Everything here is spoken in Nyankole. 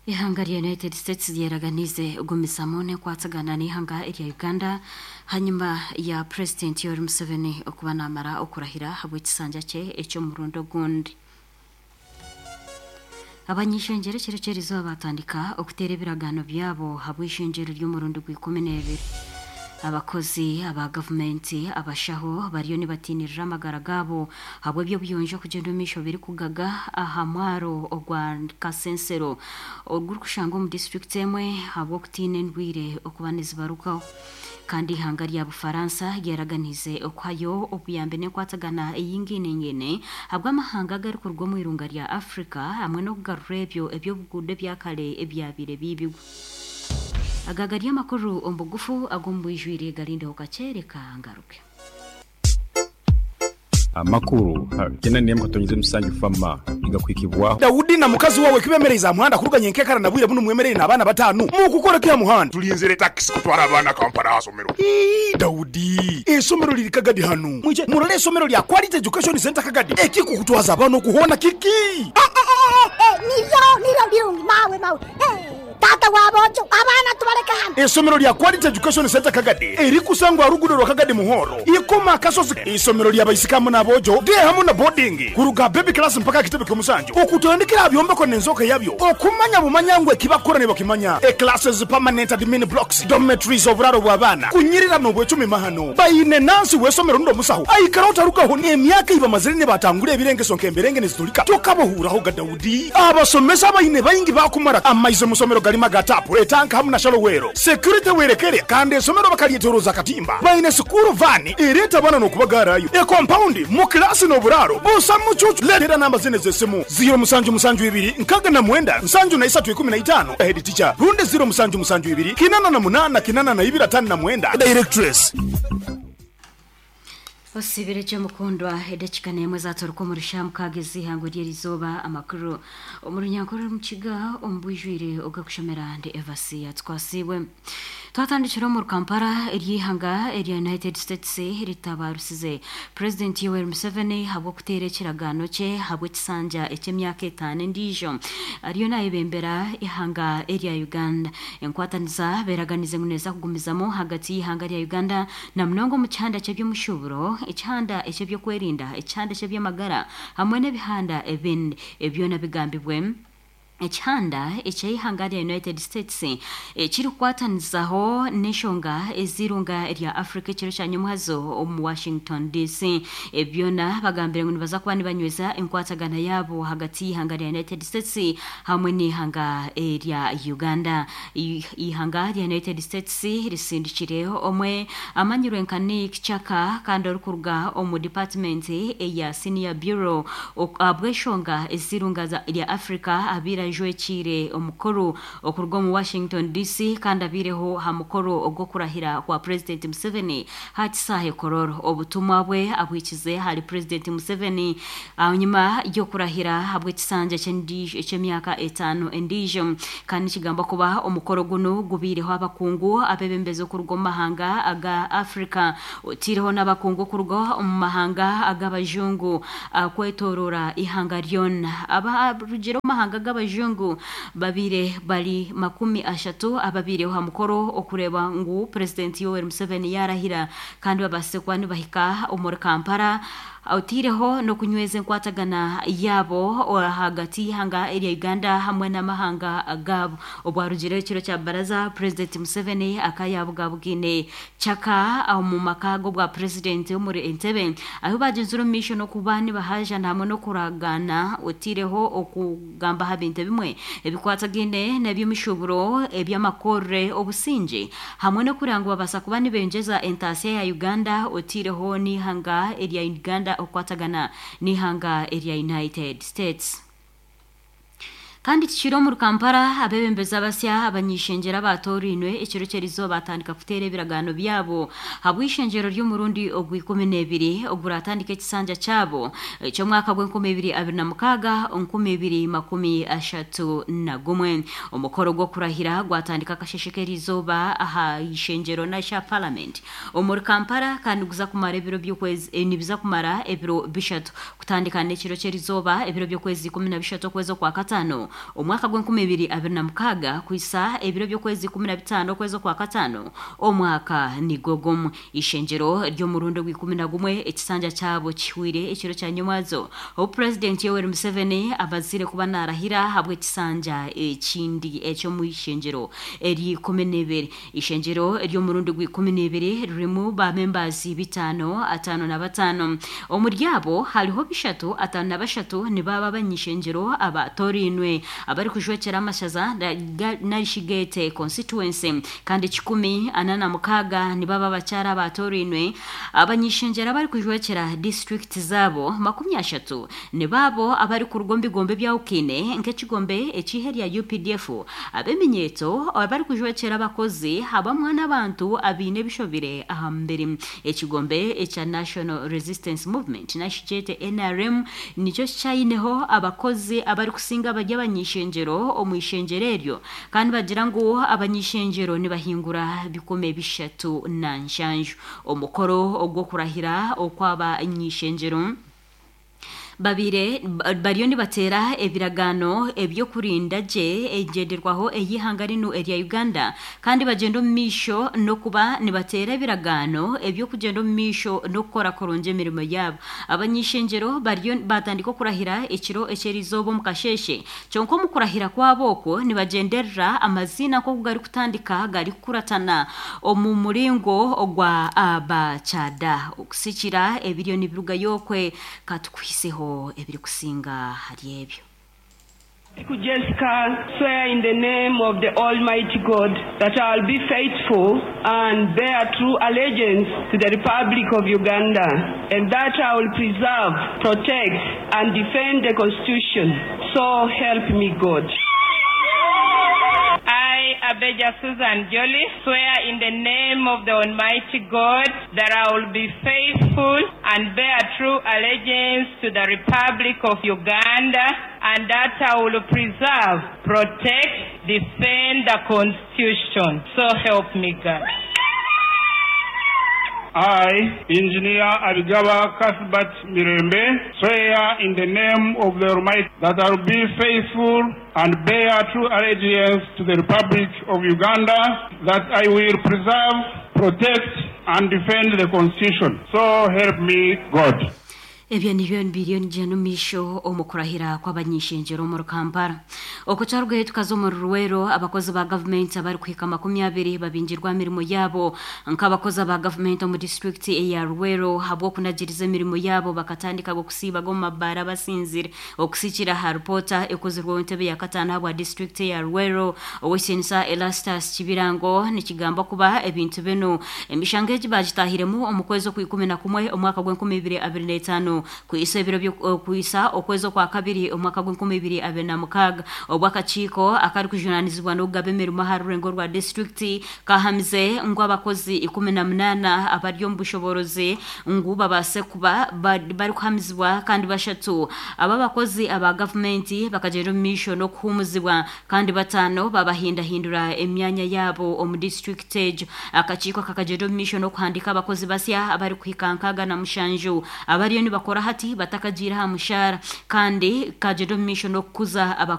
Ihanga rya United States ryeraganiize kugumizamu n'enkwatagana n'eihanga erya Uganda hanyima ya Purezidenti Yoweri Museveni okuba naamara okurahira ahabw'ekisanja kye eky'omurundi ogundi. Abany'eishengyero ekiro ky'erizooba baatandika okuteera ebiragaano byabo ahabw'eishengyero ry'omurundi gw'ikumi n'ebiri. Abakozi aba gavumenti abashaho bariyo nibatiinirira amagara gaabo ahabw'eby'obuyonjo okugyenda omu maisho birikugaga aha mwaro ogwa Kasensero ogurikushangwa omu disiturikiti emwe ahabw'okutiina endwaire okuba nizibarukaho. Kandi eihanga rya Bufaransa ryaraganiize okuhayo obuyambi n'enkwatagana eyingainengaine ahabw'amahanga agarikuruga omu irunga rya Africa hamwe n'okugarura ebyo eby'obuguuda ebya kare ebyabaire biibirwe. Aga gari amakuru omu bugufu ag'omu bwijwire garindeho kakye reka ngaruke. Amakuru 94 katonyiza musanju Fama nigakuhikibwaho. Daudi na mukazi wawe kibemereize aha muhanda kuruga nyenkekara na bwire bunu mwemereire n'abaana batanu. Mukukora ki aha muhanda? Tulinzire takisi kutwara abaana Kampala aha somero. Ii, Daudi, eisomero liri Kagadi hanu. Mwije murole eisomero lya Quality Education Centre Kagadi. Ekikukutwaza abaana oku hoona kiki? Eh, eh, eh, eh, niryo, niryo birungi, mawe, mawe. Eh. Taata wa boojo, abaana tubaleke hanu. Eisomero lya Quality Education Centre Kagadi erikusangwa aha ruguudo rwa Kagadi Muhoro, Ikoma Akasozi. Eisomero lya baisiki hamu n'aboojo, day hamu na boarding, kuruga aha baby class mpaka aha kitebe ky'omusanju, okutandikira aha byombeko n'enzooka yabyo, okumanya bumanya ngu eki bakukora nibakimanya, e classes, permanent admin blocks, dormitories, oburaaro bw'abaana, kunyirira n'obwecumi mahano. Baine nansi w'eisomero rundi omusaho aikara otarugaho n'emyaka ei bamazire nibatangura ebirengeso nk'emberenge niziturika tokabohuuraho ga Daudi. Abasomesa abaine baingi baakumara amaizi omu somero garimu aga taapu, etanka hamu na shalowero. Security werekere kandi esomero bakaryetoroza akatimba. Baine sikuuru vaani ereeta abaana n'okubagaarayo. Ekompaundi, mu kilaasi n'oburaaro busa mucuucu. Leetera namba zinu ez'esimu, ziiro musanju musanju ibiri nkaaga na mwenda nsanju na isatu ikumi na itaano, Head teacher, rundi ziiro musanju musanju ibiri kinana na munaana kinana na ibiri ataano na mwenda, Directress. Osiibire gye mukundwa, edakika n'emwe zaaturuka omuri shaaha mukaaga ez'eihangwe ry'erizooba. Amakuru omu runyankore orumu-kiga omu bwijwire ogakushomera ndi Evasiya Tukwasiibwe. Twatandikira omuri Kampala ery'eihanga erya United States ritabarusize Purezidenti Yoweri Museveni ahabw'okuteera ekiragaano kye ahabw'ekisanja eky'emyaka etaano endiijo ariyo nayebembera eihanga erya Uganda. Enkwatanisa beraganize ngu neeza kugumizamu ahagati y'eihanga rya Uganda na munonga omu kihanda ky'eby'omushuuburo, ekihanda eky'eby'okwerinda, ekihanda eky'eby'amagara hamwe n'ebihanda ebindi. Ebi byona bigambibwe Ekihanda eky'eihanga rya United States ekirikukwatanizaho n'enshonga ez'eirunga rya Africa ekiro kya nyomwazo omu Washington DC. Ebi byona bagambire ngu nibaza kuba nibanyweza enkwatagana yaabo ahagati y'eihanga rya United States hamwe n'eihanga erya Uganda. Eihanga rya United States risindikire omwe amanyirwe nka Nick Chaka kandi orikuruga omu dipatimenti eya Senior Bureau ahabw'enshonga ez'eirunga rya Africa abaire ajwekiire omukuru okuruga omu Washington DC kandi abaireho aha mukoro ogw'okurahira kwa Purezidenti Museveni aha kisaahe Kololo. Obutumwa bwe abwikize ahari Purezidenti Museveni ahanyima y'okurahira ahabw'ekisanja eky'emyaka etaano endiijo kandi nikigambwa kuba omukoro gunu gubaireho abakungu abeebembezi okuruga omu mahanga aga Africa otaireho n'abakungu okuruga omu mahanga ag'abajungu kwetooroora eihanga ryona. Abarugire omu mahanga g'abajungu babaire bari 30 ababaireho aha mukoro okureeba ngu Purezidenti Yoweri Museveni yaarahira kandi babaasise kuba nibahika omuri Kampala otaireho n'okunyweza enkwatagana yaabo ahagati y'eihanga erya Uganda hamwe n'amahanga gaabo. Obwarugireho ekiro kya baraza, Purezidenti Museveni akayaabugabugaine Chaka omu maka g'obwa Purezidenti omuri Entebbe ahu baagyenzire omu maisho n'okuba nibahaajana hamwe n'okuragaana otaireho okugamba aha bintu ebimwe ebikwatagaine n'eby'emishuuburo, eby'amakorre, obusingye hamwe n'okureba ngu babaasa kuba nibengyeza entaasya ya Uganda otaireho n'eihanga erya Uganda okukwatagana n'eihanga erya United States. Kandi tikiri omuri Kampala, abeebembezi abasya abany'eishengyero abaatoorainwe ekiro ky'erizooba baatandika kuteera ebiragaano byabo ahabw'eishengyero ry'omurundi ogw'ikumi n'ebiri oguratandika ekisanja kyabo eky'omwaka gw'enkumi ibiri abiri na mukaaga 2031. Omukoro gw'okurahira gwatandika akasheshe k'erizooba aha ishengyero n'aha Paramenti omuri Kampala kandi guza kumara ebiro by'okwezi nibiza kumara ebiro bishatu kutandika n'ekiro ky'erizooba ebiro by'okwezi 13 okwezi okwa kataano. omwaka gw'enkumi ibiri abiri na mukaaga kwisa ebiro by'okwezi 15 okwezi okwa kataano omwaka nigwo gumwe. Ishengyero ry'omurundi ogwa 11 ekisanja kyabo kihwire ekiro kya nyomwazo obu Purezidenti Yoweri Museveni amazire kuba naarahira ahabw'ekisanja ekindi eky'omu ishengyero ery'ikumi n'ebiri. Ishengyero ery'omurundi gwa 12 ririmu ba membaazi bitaano ataano na bataano. Omuri abo hariho bishatu ataano na bashatu nibaaba abany'ishengyero abaatorainwe abarikujwekyera amashaza narishi geete constituency kandi 146 nibaba abakyara abaatorainwe abany'ishengyero abarikujwekyera disiturikiti zaabo 30 nibaabo abarikuruga omu bigombe ebyahukine nk'ekigombe eky'ihe rya UPDF ab'eminyeeto abarikujwekyera abakozi habamwe n'abantu abaine ebishobire aha mubiri. Ekigombe ekya National Resistance Movement narishi kyete NRM nikyo kikyayineho abakozi abarikusinga bari abany'ishengyero omu ishengyero eryo kandi bagira ngu abany'ishengyero nibahingura 307. Omukoro ogw'okurahira okw'abany'ishengyero babire bariyo nibateera ebiragaano eby'okurinda gye engyenderwaho ey'eihanga rinu erya Uganda kandi bagyenda omu maisho n'okuba nibateera ebiragaano eby'okugyenda omu maisho n'okukora kurungi emirimo yaabo. Abany'ishengyero bariyo batandika okurahira ekiro eky'erizooba omu kasheeshe kyonka omu kurahira kwabo okwo nibagyenderera amaziina nk'oku garikutandika garikukuratana omu muringo ogwa abakyada okusikira ebiriyo nibirugayo okwe katukuhiseho ebirikusinga hari ebyo. Jessica, swear in the name of the Almighty God that I will be faithful and bear true allegiance to the Republic of Uganda, and that I will preserve, protect, and defend the Constitution. So help me God. I, Abeja Susan Jolly, swear in the name of the Almighty God that I will be faithful and bear true allegiance to the Republic of Uganda, and that I will preserve, protect, defend the Constitution. So help me God. I, Engineer Abigaba Cuthbert Mirembe, swear in the name of the Almighty that I will be faithful and bear true allegiance to the Republic of Uganda, that I will preserve, protect, and defend the Constitution. So help me God. Ebyo nibyo biriyo nigyenda omu maisho omu kurahira kw'abany'ishengyero omuri Kampala. Okukyarugayo tukaza omuri Luweero, abakozi ba gavumenti abarikuhika 20 babingirwa aha mirimo yaabo nk'abakozi aba gavumenti omu disiturikiti eya Luweero ahabw'okunagiriza emirimo yaabo bakatandika okusiibaga omu mabaara basinzire. Okusikira aha ripoota ekozirweho entebe ya kataano ahabwa disiturikiti eya Luweero, Ow'ekitinisa Erastus Kibirango nikigambwa kuba ebintu binu emishango egi bagitahiremu omu kwezi okwa 11 omwaka gw'enkumi ibiri abiri n'etaano kwisa ebiro kwisa okwezi okwa kabiri omwaka gw'enkumi ibiri abiri na mukaaga obu akakiiko akarikujunanizibwa n'okugaba emirimo aha rurengo rwa disiturikiti kahamize ngu abakozi 18 abari omu bushoborozi ngu babaase kuba barikuhamizibwa kandi bashatu aba abakozi aba gavumenti bakagyenda omu maisho n'okuhuumuzibwa kandi 5 babahindahindura emyanya yaabo omu disiturikiti egyo. Akakiiko kakagyenda omu maisho n'okuhandiika abakozi basya abarikuhika 67 abariyo nibakora hati batakagiire aha mushaara kandi kagenda omu maisho n'okukuza